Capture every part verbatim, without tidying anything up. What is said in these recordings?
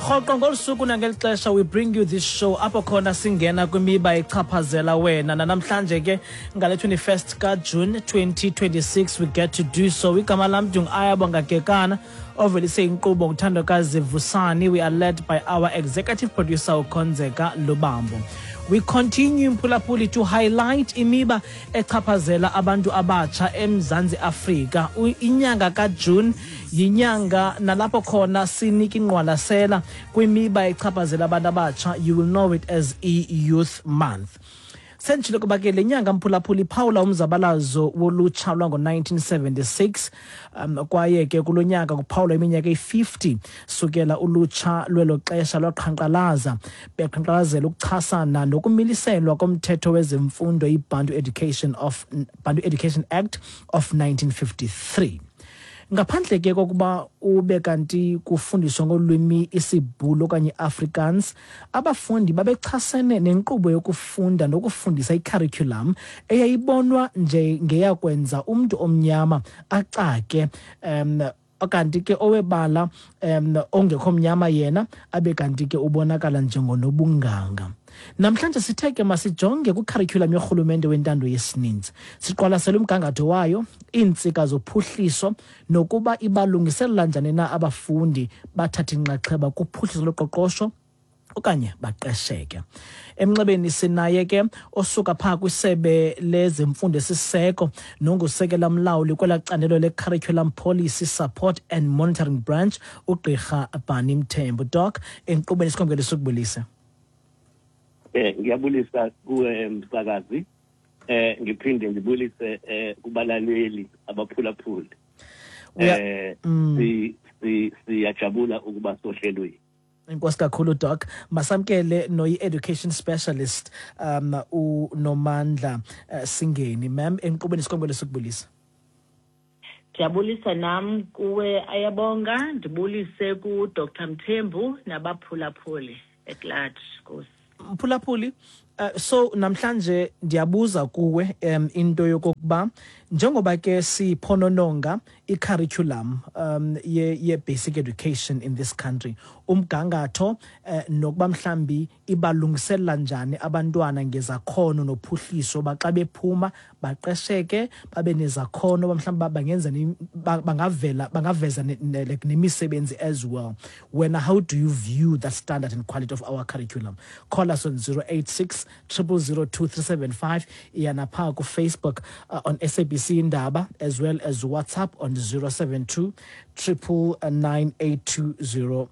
Rhoqo ngolu suku nangeli xesha we bring you this show apho khona singena kwimiba echaphazela wena. Nanamhlanje ke ngale twenty-first kaJune twenty twenty-six we get to do so. Igama lam ndingu-Ayabonga Kekana, ovelise inkqubo nguThandokazi Vusani. We are led by our executive producer, uKhonzeka Lubambo. We continue, mphulaphuli, to highlight imiba echaphazela abantu abatsha eMzantsi Afrika. Inyanga kaJune yinyanga nalapho khona sinika ingqwalasela kwimiba echaphazela abantu abatsha. You will know it as i-Youth Month. Senditshilo kuba ke le nyanga, mphulaphuli, iphawula umzabalazo wolutsha lwango-nineteen seventy-six, um kwaye ke kulo nyaka kuphawulwa iminyaka eyi-fifty sukela ulutsha lwelo xesha lwaqhankqalaza, beqhankqalazela ukuchasana nokumiliselwa komthetho wezemfundo, iBantu Education of Bantu Education Act of nineteen fifty-three. Ngaphandle ke kokuba ube kanti kufundiswa ngolwimi isiBhulu okanye iAfrikaans, abafundi babechasene nenkqubo yokufunda nokufundisa, icurriculum eyayibonwa njengeyakwenza umntu omnyama acake, um kanti ke owebala um ongekho mnyama yena abe kanti ke ubonakala njengonobunganga. Namhlanje sithe ke masijonge kwicurriculum yorhulumente wentando yesininzi, siqwalasele umgangatho wayo, iintsika zophuhliso, nokuba ibalungiselela njani na abafundi bathathe inxaxheba kuphuhliso loqoqosho okanye baqesheke. Emnxebeni sinaye ke osuka phaa kwisebe lezemfundo esiseko nongusekela mlawuli kwelaa candelo le-Curriculum Policy Support and Monitoring Branch, uGqirha Bhani Mthembu. Doc, enkqubeni sikhongele sukubulise. Eh ngiyabulisa kuwe, msakazi. Eh ngiphinde ngibulise eh kubalaleli abaphulaphuli. Eh mm. si si siyajabula ukuba sohlelweni. Enkosi kakhulu, Doc. Masamkele noyi-education specialist, um uNomandla uh, Singeni. Ma'am, enkqubeni sikhongele sukubulisa. Ndiyabulisa nam kuwe, Ayabonga, ndibulise ku-Doctor Mthembu nabaphulaphuli at large. Nkosi. Mphulaphuli, uh, so namhlanje ndiyabuza kuwe um into yokokuba njengoba ke siphonononga i-curriculum um ye, ye basic education in this country, umgangatho, uh, nokuba mhlambi ibalungiselela njani abantwana ngezakhono nophuhliso, baxa bephuma baqesheke, babe nezakhono, mhlawumbi bangenza bangavela bangaveza like nemisebenzi as well. Wena, how do you view that standard and quality of our curriculum? Call us on zero eight six zero zero zero two three seven five, iyana phaa kuFacebook uh, on S A B C Indaba, as well as WhatsApp on zero seven two triple nine eight two zero.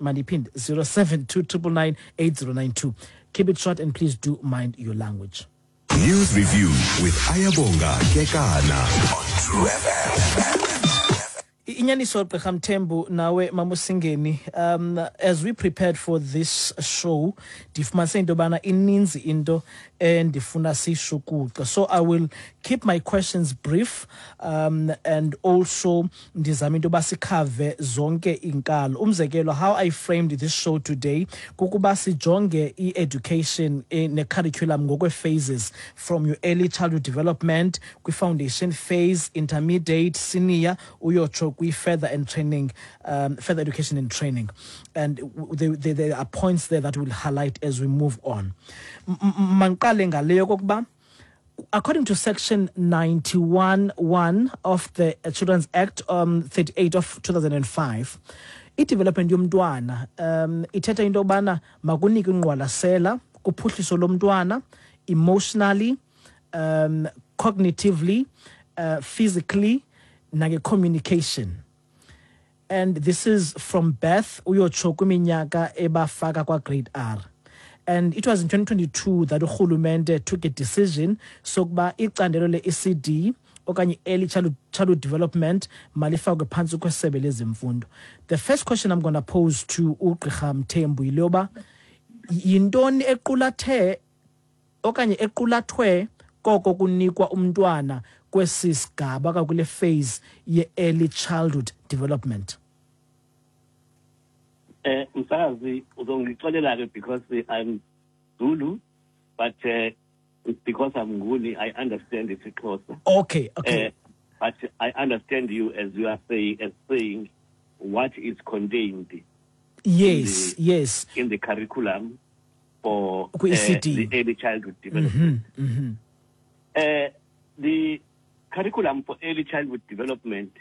Mandiphinde, zero seven two nine nine nine eight zero nine two. Keep it short and please do mind your language. News Review with Ayabonga Kekana on True F M. Inyaniso, Gqirha Mthembu nawe Mamusingeni, um as we prepared for this show ndifumanise into yobana ininzi into endifuna siyishukuxe, so I will keep my questions brief um and also ndizame into yoba sikhave zonke iinkalo. Umzekelo, how I framed this show today kukuba sijonge i-education ne-curriculum ngokwe-phases, from your early childhood development, kwi-foundation phase, intermediate, senior, uyotsho kwi-further and training um, further education and training, and there, there, there are points there that will highlight as we move on. Mandiqale ngale yokokuba according to section ninety-one one of the Children's Act um, thirty-eight of two thousand five, i-development yomntwana um ithetha into yobana makunikwe ingqwalasela kuphuhliso lomntwana emotionally, um cognitively, uh, physically nange-communication, and this is from birth uyotsho kwiminyaka ebafaka kwa-grade R. And it was in twenty twenty-two that urhulumente took a decision sokuba icandelo le-E C D okanye early childhood, childhood development malifakwe phantsi kwesebe lezemfundo. The first question I'm going to pose to uGqirha Mthembu yile yoba yintoni equlathe okanye equlathwe koko kunikwa umntwana kwesi sigaba, kule phase ye-early childhood development? Eh msakazi, uzongixolela ke because I'm Zulu, but uh, because I'm Nguni, I understand isiXhosa. Okay okay. Uh, but I understand you as you are saying as saying what is contained Yes, in the, yes. In the curriculum for uh, Kwi-E C D. the early childhood development. Mm-hmm, mm-hmm. Uh, the curriculum for early childhood development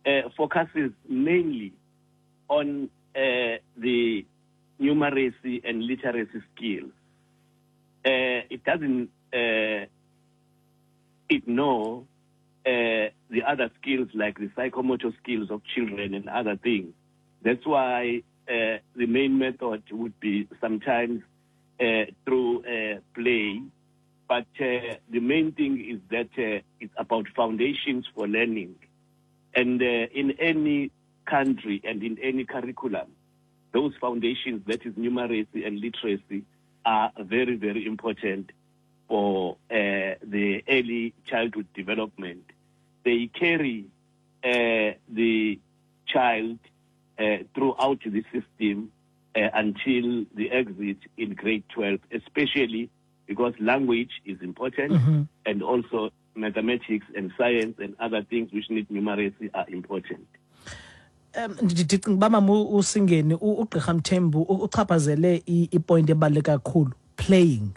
uh, focuses mainly on uh, the numeracy and literacy skills. Uh, it doesn't uh, ignore uh, the other skills like the psychomotor skills of children and other things. That's why uh, the main method would be sometimes uh, through uh, play. But uh, the main thing is that uh, it's about foundations for learning. And uh, in any country and in any curriculum, those foundations, that is numeracy and literacy, are very, very important for uh, the early childhood development. They carry uh, the child uh, throughout the system uh, until the exit in grade twelve, especially because language is important, mm-hmm. and also mathematics and science and other things which need numeracy are important. Um, ndicinga uba mama uSingeni uGqirha Mthembu uchaphazele ipoint ebaluleke kakhulu, playing,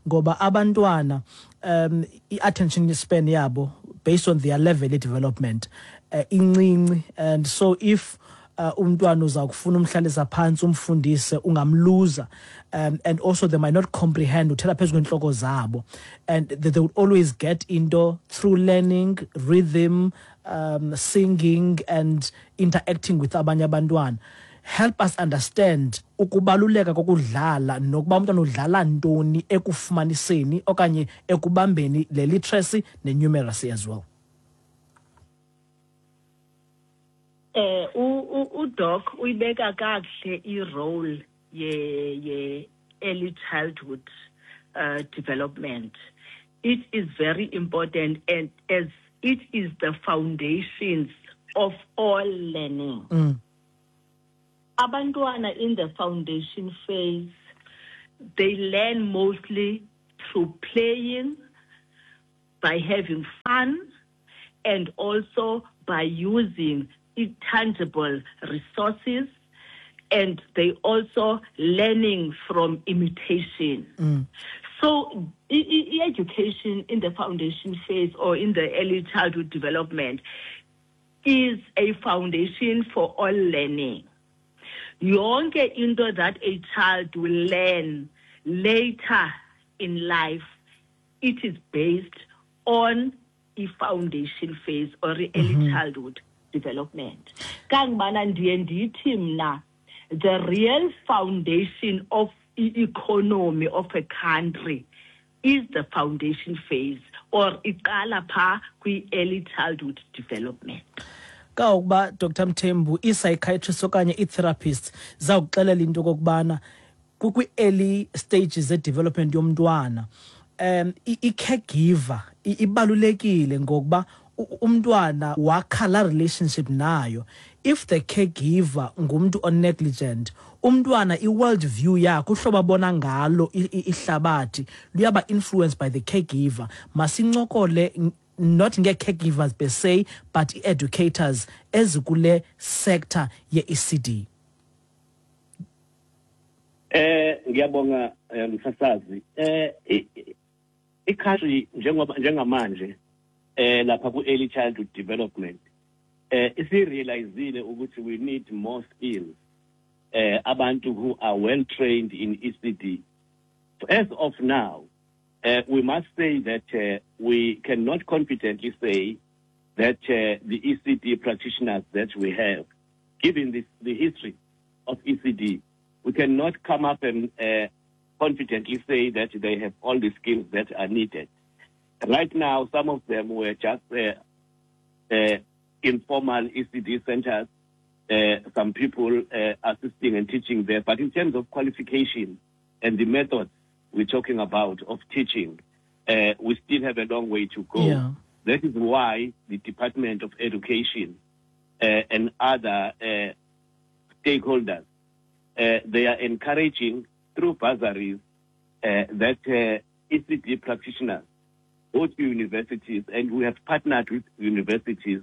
ngoba abantwana um i-attention span yabo based on their level of development uh, incinci, and so if uh, umntwana uza kufuna umhlalisa phantsi umfundise ungamluza, um, and also they might not comprehend, uthela phezu kwentloko zabo, and they, they would always get into through learning rhythm, um, singing and interacting with abanye abantwana. Help us understand ukubaluleka kokudlala nokuba umntwana udlala ntoni ekufumaniseni okanye ekubambeni le literacy ne numeracy as well. Eh u Doc uyibeka kakuhle i-role ye ye early childhood uh, development. It is very important, and as it is the foundations of all learning. Mm. Abantwana in the foundation phase, they learn mostly through playing, by having fun, and also by using intangible resources, and they also learning from imitation. Mm. So e- education in the foundation phase or in the early childhood development is a foundation for all learning. Yonke into that a child will learn later in life, it is based on a foundation phase or early mm-hmm. childhood development. Kangibana ndiye ndithi mna, the real foundation of the economy of a country is the foundation phase, or iqala pha kwi-early childhood development. Kawukuba Doctor Mthembu, i-psychiatrist okanye i-therapist zawukuxelela into okokubana kwi-early stages ze-development yomntwana, um i-caregiver ibalulekile ngokuba umntwana wakha la relationship nayo. If the caregiver ngumntu o-negligent, umntwana i-world view yakhe, uhlobo abona ngalo ihlabathi luyaba influenced by the caregiver. Masincokole not nge-caregivers per se, but i-educators ezikule sector ye-E C D. Eh ngiyabonga msasazi. Eh i-country njengoba njengamanje eh lapha ku early childhood development eh isirealizile ukuthi we need more skills, eh abantu who are well trained in E C D. As of now, uh, we must say that uh, we cannot confidently say that uh, the E C D practitioners that we have, given this, the history of E C D, we cannot come up and uh, confidently say that they have all the skills that are needed. Right now, some of them were just uh, uh, informal E C D centers, uh, some people uh, assisting and teaching there. But in terms of qualification and the methods we're talking about of teaching, uh, we still have a long way to go. Yeah. That is why the Department of Education uh, and other uh, stakeholders, uh, they are encouraging through bursaries uh, that uh, E C D practitioners go to universities, and we have partnered with universities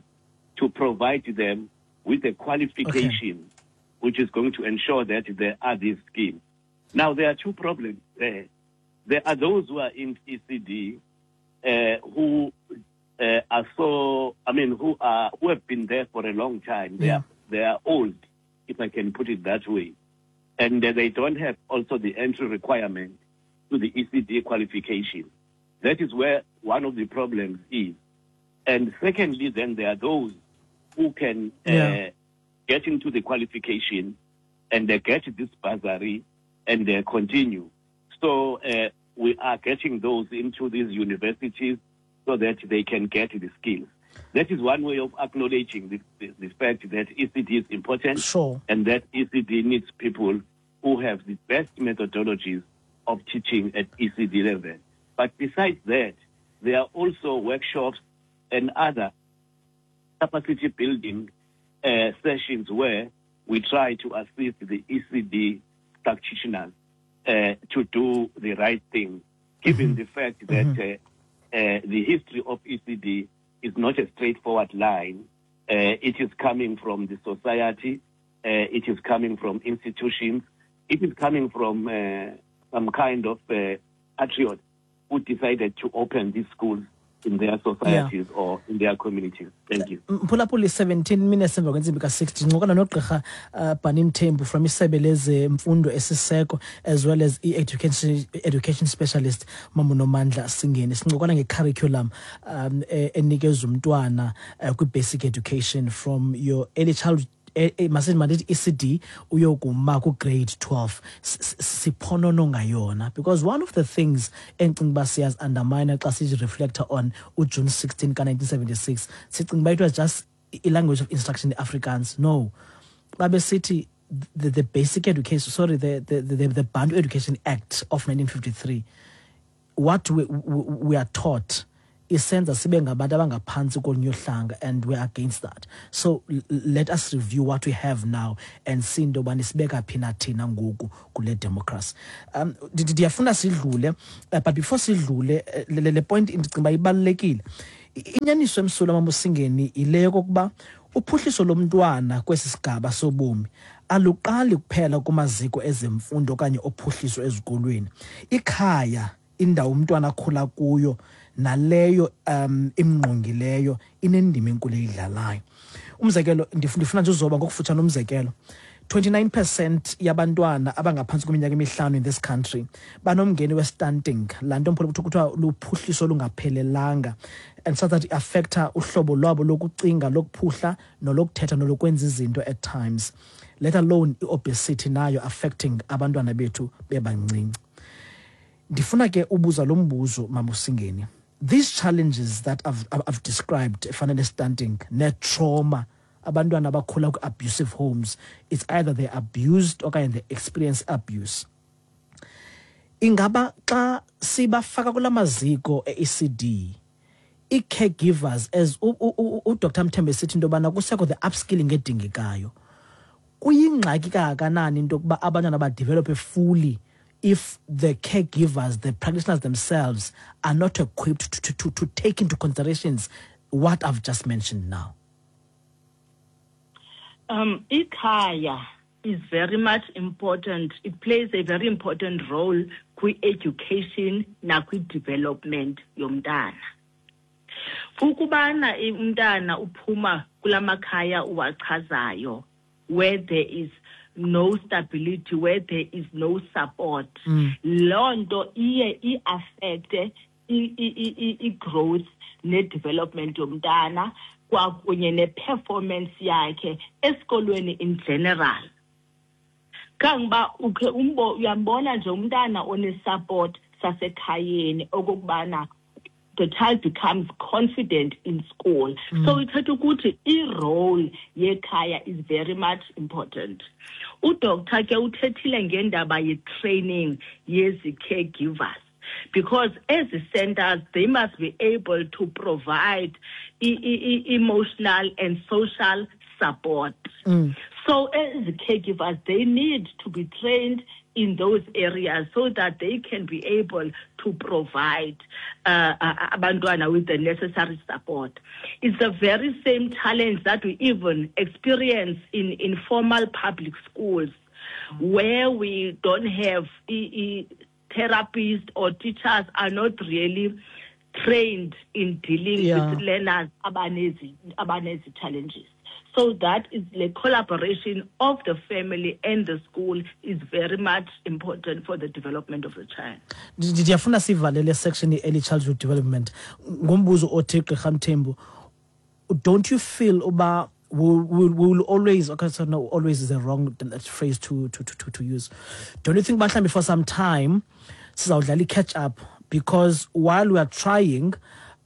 to provide them with a qualification okay. which is going to ensure that there are these schemes. Now, there are two problems there. There are those who are in E C D uh, who uh, are so, I mean, who are who have been there for a long time. They Yeah. are they are old, if I can put it that way. And uh, they don't have also the entry requirement to the E C D qualification. That is where one of the problems is. And secondly, then there are those who can uh, Yeah. get into the qualification and they get this bursary and they continue. So uh, we are getting those into these universities so that they can get the skills. That is one way of acknowledging the, the, the fact that E C D is important. Sure. And that E C D needs people who have the best methodologies of teaching at E C D level. But besides that, there are also workshops and other capacity building, uh, sessions where we try to assist the E C D practitioners, uh, to do the right thing, given Mm-hmm. the fact that Mm-hmm. uh, uh, the history of E C D is not a straightforward line. Uh, it is coming from the society. Uh, it is coming from institutions. It is coming from, uh, some kind of, uh, patriots who decided to open these schools in their societies Yeah. or in their communities. Thank you. Mphulaphuli, seventeen minutes emva kwentsimbi ka-six, ndincokola nogqirha, uh, Barney Mthembu from isebe lezemfundo esiseko as well as i-education, education specialist Mamunomandla Singeni. Sincokola nge-curriculum, um, e-, enikezwa umntwana, uh, kwi-basic education from your early childhood, eh, eh, masithi mandithi E C D uyokuma ku-grade twelve. S-, s-, siphonononga yona because one of the things endicinga uba siyazi-undermine xa sizi-reflecta on uJune sixteen ka-nineteen seventy-six, sicinga uba it was just i-language of instruction in Afrikaans. No, babesithi the, the basic education, sorry, the, the, the, the Bantu Education Act of nineteen fifty-three, what we, we, we are taught isenza sibe ngabantu abangaphantsi kolunye uhlanga, and we're against that. So l-, let us review what we have now and see into yobana sibeka phi na thina ngoku kule democracy. Um, ndi-, ndi-, ndiyafuna sidlule, uh, but before sidlule, eh, le, le, le point ndicinga uba ibalulekile. I-, inyaniso emsulwa Mamusingeni yile yokokuba uphuhliso lomntwana kwesi sigaba sobomi aluqali kuphela kumaziko ezemfundo okanye ophuhliso ezikolweni. Ikhaya, indawo umntwana akhula kuyo naleyo, um, imngqongileyo inendima enkulu eyidlalayo. Umzekelo, ndif-, ndifuna nje uzoba ngokufutshane umzekelo. twenty-nine percent yabantwana abangaphantsi kweminyaka emihlanu in this country banomngeni we-stunting, laa nto mpholo kuthiwa luphuhliso olungaphelelanga, and so that i-affecta uhlobo lwabo lokucinga, lokuphuhla nolokuthetha nolokwenza izinto at times, let alone i-obesity nayo affecting abantwana bethu bebancinci. Ndifuna ke ubuza lo mbuzo, Mamusingeni. These challenges that I've, I've described, efana ne-stunting, ne-trauma, abantwana abakhula kwi-abusive homes, it's either they're abused okanye they experience abuse. Ingaba xa sibafaka kula maziko e-E C D, i-caregivers, as u-, u-, u-, uDoctor Mthembu esithi into yobana kusekho the upskilling edingekayo, kuyingxaki kangakanani into yokuba abantwana badevelophe fully if the caregivers, the practitioners themselves are not equipped to, to, to, to take into considerations what I've just mentioned now? Um, ikhaya is very much important. It plays a very important role kwi-education nakwi-development yomntana. Ukubana umntana uphuma kula makhaya uwachazayo, where there is no stability, where there is no support, Mm. loo nto iye i-affecte i-, i-, i-, i-, i-growth ne-development yomntana kwakunye ne-performance yakhe esikolweni in general. Kangoba ukhe umbo, uyambona nje umntana one-support sasekhayeni okokubana the child becomes confident in school. Mm. So ithetha ukuthi i-role yekhaya is very much important. Udoctor ke uthethile ngendaba ye-training yezi caregivers, because as the centers, they must be able to provide e-, e-, e-, emotional and social support. Mm. So as caregivers, they need to be trained in those areas so that they can be able to provide uh, abantwana with the necessary support. It's the very same challenge that we even experience in informal public schools, where we don't have e- e- therapists or teachers are not really trained in dealing yeah. with learners abanezi, abanezi challenges. So that is the collaboration of the family and the school is very much important for the development of the child. Ndiyafuna sivale le section ye-early childhood development ngombuzo othi Gqirha Mthembu, don't you feel uba we will, we will always, okay, so no, always is a wrong phrase to, to, to, to use. Don't you think mhlawumbi for some time sizawudlala i-catch up, because while we are trying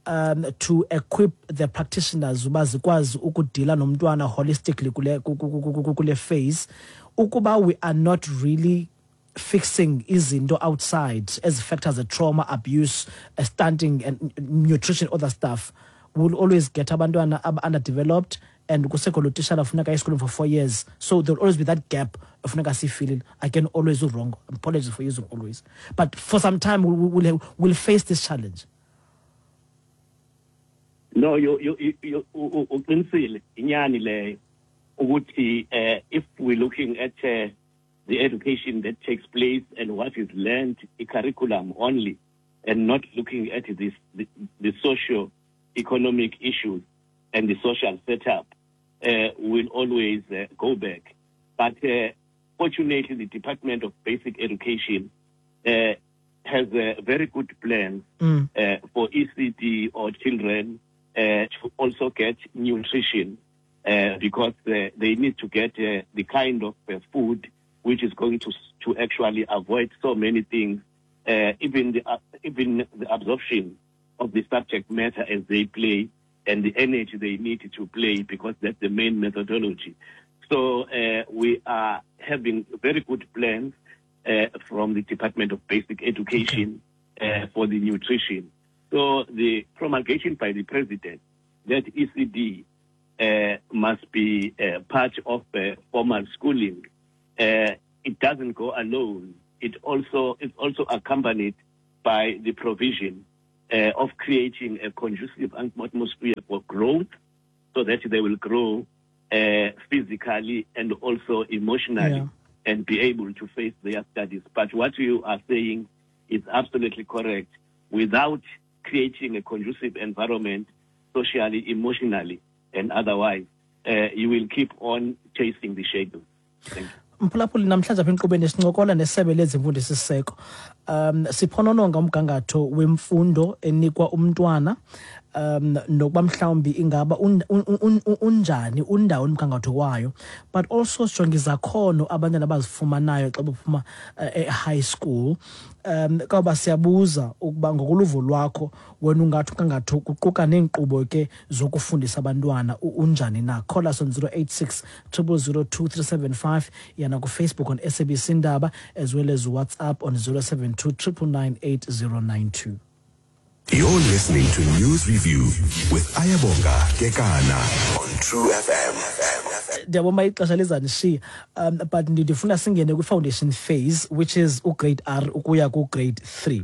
um, to equip the practitioners uba zikwazi ukudila nomntwana holistically kule, kule phase, ukuba we are not really fixing izinto outside as factors of trauma, abuse, stunting and nutrition, other stuff, we'll always get abantwana underdeveloped, and kusekho lo tishala funeka esikolweni for four years. So there'll always be that gap funeka siyifilile. Again, always wrong. Apologies for using always. But for some time, we'll, we'll, we'll face this challenge. No, you you you uqinisile inyani leyo ukuthi if we're looking at uh, the education that takes place and what is learned, a curriculum only, and not looking at this the, the socio economic issues and the social setup, uh, will always uh, go back. But uh, fortunately, the Department of Basic Education uh, has a very good plan mm. uh, for E C D or children uh, to also get nutrition, uh, because uh, they need to get uh, the kind of uh, food which is going to to actually avoid so many things, uh, even the uh, even the absorption of the subject matter as they play and the energy they need to play, because that's the main methodology. So uh, we are having very good plans uh, from the Department of Basic Education uh, for the nutrition. So the promulgation by the president that E C D uh, must be uh, part of uh, formal schooling, uh, it doesn't go alone. It also it's also accompanied by the provision Uh, of creating a conducive atmosphere for growth, so that they will grow uh, physically and also emotionally yeah. and be able to face their studies. But what you are saying is absolutely correct. Without creating a conducive environment, socially, emotionally, and otherwise, uh, you will keep on chasing the shadow. Thank you. Mphulaphuli, namhlanje apha enkqubeni sincokola nesebe lezemfundo esisiseko. Um siphonononga umgangatho wemfundo enikwa umntwana, um nokuba mhlawumbi ingaba unjani undawo umgangatho wayo, but also sijonge izakhono abantwana abazifumanayo xa bephuma e-high school. Um kwaba siyabuza ukuba ngokoluvo lwakho wena ungathi umgangatho kuquka neenkqubo ke zokufundisa abantwana unjani na. Call us on zero eight six zero zero two three seven five, yana ku Facebook on S A B C Indaba, as well as WhatsApp on zero seven two triple nine eight zero nine two. You're listening to News Review with Ayabonga Kekana on True F M. Ndiyabona ixesha lizanishiya, um but ndifuna singene kwi-foundation phase, which is ugrade R ukuya ku-grade three.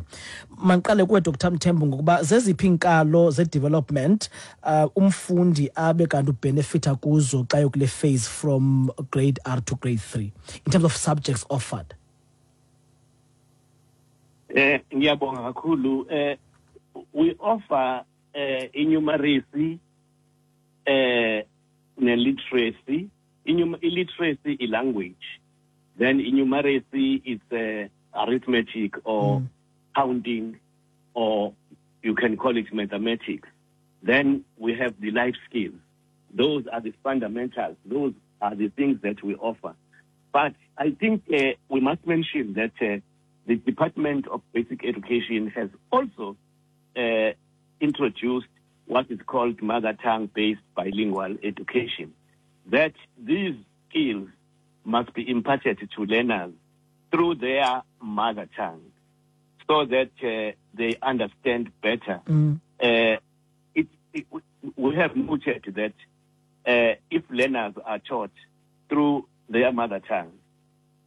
Mandiqale kuwe Doctor Mthembu ngokuba zeziphi iinkalo ze-development uh, umfundi abe kanti ubenefita kuzo xa yokule phase from grade R to grade three in terms of subjects offered? Eh ngiyabonga kakhulu. Eh we offer uh, numeracy uh, literacy. Illiteracy is language. Then numeracy is uh, arithmetic or mm. counting, or you can call it mathematics. Then we have the life skills. Those are the fundamentals. Those are the things that we offer. But I think uh, we must mention that uh, the Department of Basic Education has also uh, introduced what is called mother tongue-based bilingual education, that these skills must be imparted to learners through their mother tongue so that uh, they understand better. Mm. Uh, it, it, we have noted that uh, if learners are taught through their mother tongue,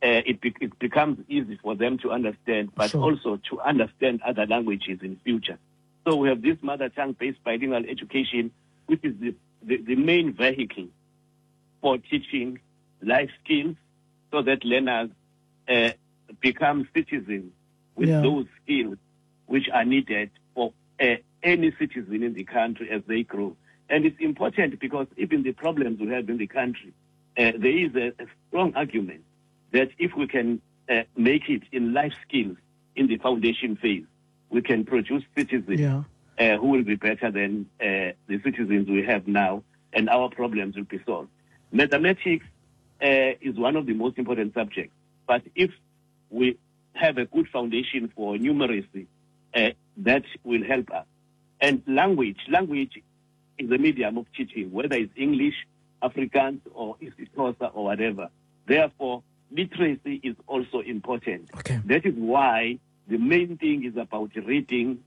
uh, it, be- it becomes easy for them to understand, but Sure. also to understand other languages in future. So we have this mother tongue-based bilingual education, which is the, the, the main vehicle for teaching life skills so that learners uh, become citizens with Yeah. those skills which are needed for uh, any citizen in the country as they grow. And it's important because even the problems we have in the country, uh, there is a, a strong argument that if we can uh, make it in life skills in the foundation phase, we can produce citizens Yeah. uh, who will be better than uh, the citizens we have now, and our problems will be solved. Mathematics uh, is one of the most important subjects, but if we have a good foundation for numeracy, uh, that will help us. And language, language is a medium of teaching, whether it's English, Afrikaans, or isiXhosa or whatever. Therefore, literacy is also important. Okay. That is why the main thing is about reading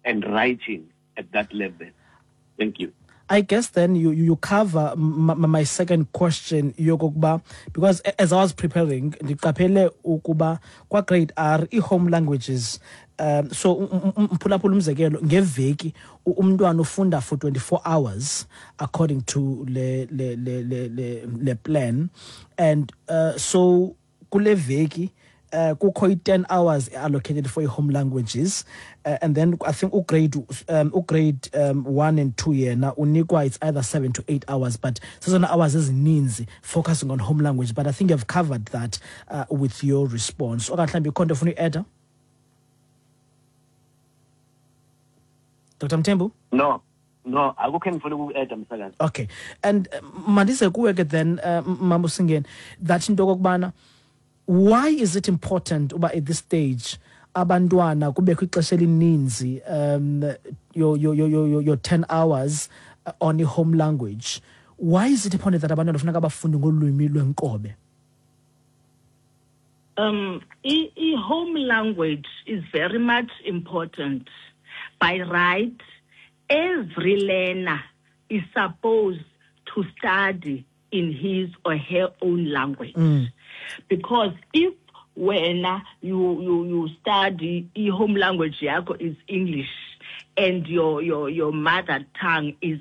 and writing at that level. Thank you. I guess then you you you cover m- m- my second question yokokuba because a- as I was preparing ndiqaphele ukuba kwa grade R i-home languages um so mphulaphula umzekelo ngeveki u- umntwana ufunda for twenty-four hours according to le le le le le, le plan and uh, so kule veki uh, kukho i-ten hours allocated for i-home languages uh, and then I think ugrade um, ugrade um, one and two yena unikwa it's either seven to eight hours, but zezona hours ezininzi focusing on home language. But I think you've covered that uh, with your response. Okanye mhlawumbi ikhona into ofuna uyi-adda, Doctor Mthembu? No, no, akukho engifuna uku-adda, msakazi. Okay, and uh, mandize kuwe ke then, uh, Mama Usingeni, that into okokubana why is it important uba at this stage abantwana kubekho ixesha elininzi, um your your your your, your ten hours uh, on i-home language? Why is it important that abantwana funeka bafunde ngolwimi lwenkobe? Um, i, i home language is very much important. By right, every learner is supposed to study in his or her own language. Mm. Because if when you, you, you study i home language yakho is English and your, your, your mother tongue is